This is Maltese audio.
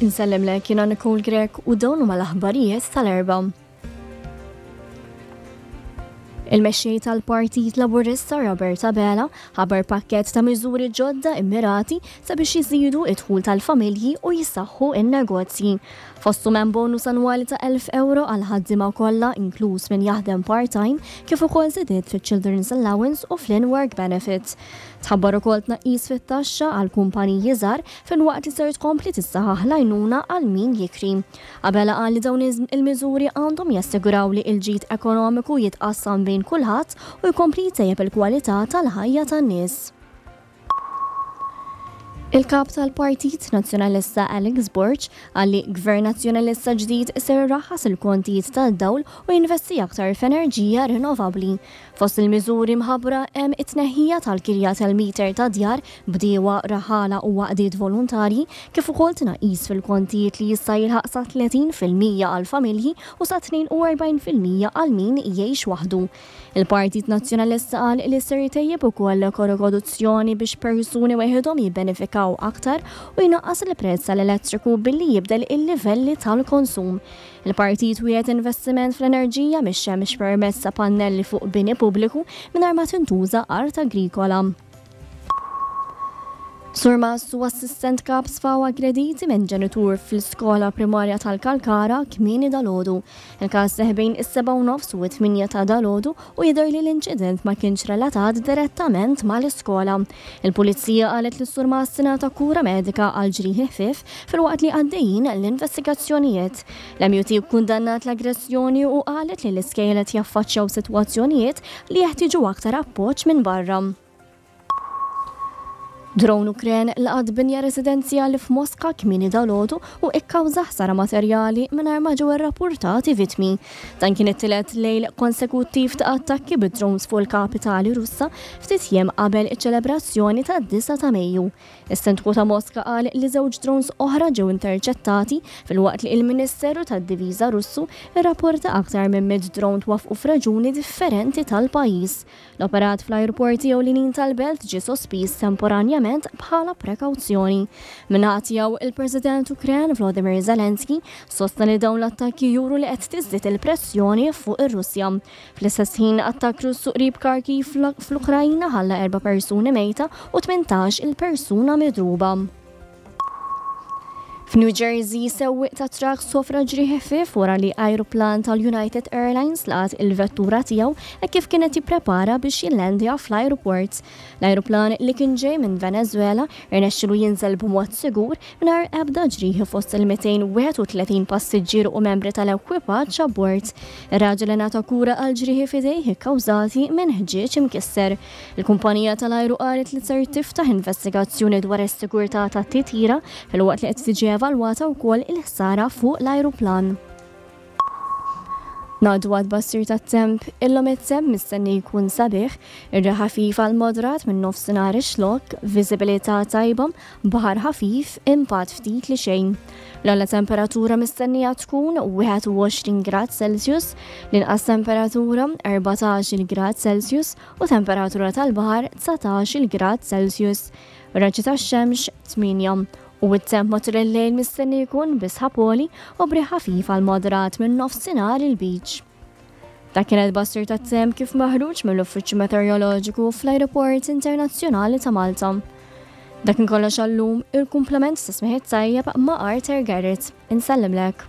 Insellimlek jiena Nicole Grech u dawn huma l-aħbarijiet tal-Erbgħa. Il-mexxej tal-Partit Laburista Robert Abela ħabar pakkett ta' miżuri ġodda immirati sabiex jiżidu id-dħul tal-familji u jissaħħu n-negozji. Fosthom hemm bonus annwali ta' 1,000 ewro għall-ħaddiema kollha inkluż min jaħdem part-time kif ukoll żidiet fiċ-Children's Allowance u fl-in-work benefit. Tħabbar ukoll tnaqqis fit-taxxa għal kumpaniji żgħar filwaqt li ser tkompli tissaħaħ l-għajnuna għal min jikri. Abela qal li dawn il-miżuri għandhom jassiguraw li l-ġid ekonomiku jitqassam bejn kulħadd u jkompli jtejjeb il-kwalità tal-ħajja tan-nies. Il-Kap tal-Partit Nazzjonalista Alex Borg qal li Gvern Nazzjonalista ġdid ser iraħħas il-kontijiet tad-dawl u jinvesti aktar f'enerġija rinnovabbli. Fost il-miżuri mħabbra hemm it-tneħħija tal-kirja tal-meter ta' djar, bdiewa, raħħala u għaqdiet volontarji, kif ukoll tnaqqis fil-kontijiet li jista' jilħaq sa 30% għall-familji u sa 42% għal min jgħix waħdu. Il-Partit Nazzjonalista qal li ser jtejjeb ukoll l-ekorokoduzzjoni biex persuni weħidhom jibbenefikaw aktar u jnaqqas il-prezz tal-elettriku billi jibdel il-livelli tal-konsum. Il-partit wiegħed investiment fl-enerġija mix-xemx permezz ta' pannelli fuq bini pubbliku mingħajr ma tintuża art agrikola. Surmast u assistent kap sfaw aggrediti minn ġenitur fl-iskola primarja tal-Kalkara kmieni dalgħodu. Il-każ seħħ bejn is-sebgħa u nofs u t-tmienja ta' dalgħodu u jidher li l-inċident ma kienx relatat direttament mal-iskola. Il-Pulizija qalet li s-surmast ingħata kura medika għal ġrieħi ħfief filwaqt li għaddejjin l-investigazzjonijiet. L-MUT kkundannat l-aggressjoni u qalet li l-iskejjel qed jaffaċċjaw sitwazzjonijiet li jeħtieġu aktar appoġġ minn barra. Drone Ukren laqat binja residenzjali f'Moska kmieni dalgħodu u ikkawża ħsara materjali mingħajr ma ġew irrappurtati vittmi. Dan kien it-tielet lejl konsekuttiv ta' attakki bid-drones fuq il-kapitali Russa ftit jiem qabel iċ-ċelebrazzjoni tad-9 ta' Mejju. Is-Sindku ta' Moska qal li żewġ drones oħra ġew interċettati filwaqt li il-Ministeru tad-Diviża Russu rrapporta aktar minn 100 drone twaffqu f'reġuni differenti tal-pajjiż. L-operat fl-ajruporti ewlenin tal-belt ġie sospiż temporanjament bħala prekawzjoni. Min-naħa tiegħu, il-President Ukren Volodymyr Zelensky sostna li dawn l-attakki juru li qed tiżdied il-pressjoni fuq ir-Russja. Fl-istess ħin, attakk Russu qrib Kharkiv fl-Ukrajna ħalla erba' persuni mejta u 18 il persuna midruba. F'New Jersey, sewwieq ta' trakk sofra ġrieħi ħfief wara li ajruplan tal-United Airlines laqat il-vettura tiegħu hekk kif kien qed jipprepara biex jillendja fl-ajruport. L-ajruplan li kien ġej minn Venezuela rnexxielu jinżel b'mod sigur mingħajr ebda ġrieħi fost il-231 passiġġier u membri tal-ekwipaġġ abbord. Ir-raġel ingħata kura għal ġrieħi f'idejh ikkawżati minn ħġieġ imkisser. Il-kumpanija tal-ajru qalet li ser tiftaħ investigazzjoni dwar is-sigurtà tat-titjira filwaqt li qed tiġi evalwata wkoll il-ħsara fuq l-ajruplan. Ngħaddu għat-tbassir tat-temp, illum it-temp mistenni jkun sabiħ, ir-riħ ħafif għal moderat minn nofsinhar ix-Xlokk, viżibilità tajba, baħar ħafif, impatt ftit li xejn. L-ogħla temperatura mistennija tkun 21 grad Celsius, l-inqas temperatura 14-il grad Celsius u temperatura tal-baħar 19-il grad Celsius. Raġġi tax-xemx 8. U t-temp matul il-lejl mistenni jkun bi sħab għoli u b'riħ ħafif għal moderat minn nofsinhar il-Lbiċ. Dak kien il-bassir tat-temp kif maħruġ mill-Uffiċċju Meteoroloġiku fl-Ajruport Internazzjonali ta' Malta. Dak kien kollox għal-lum, il-kumplament ta' smigħ it-tajjeb ma' Arthur Garrett. Insellimlek.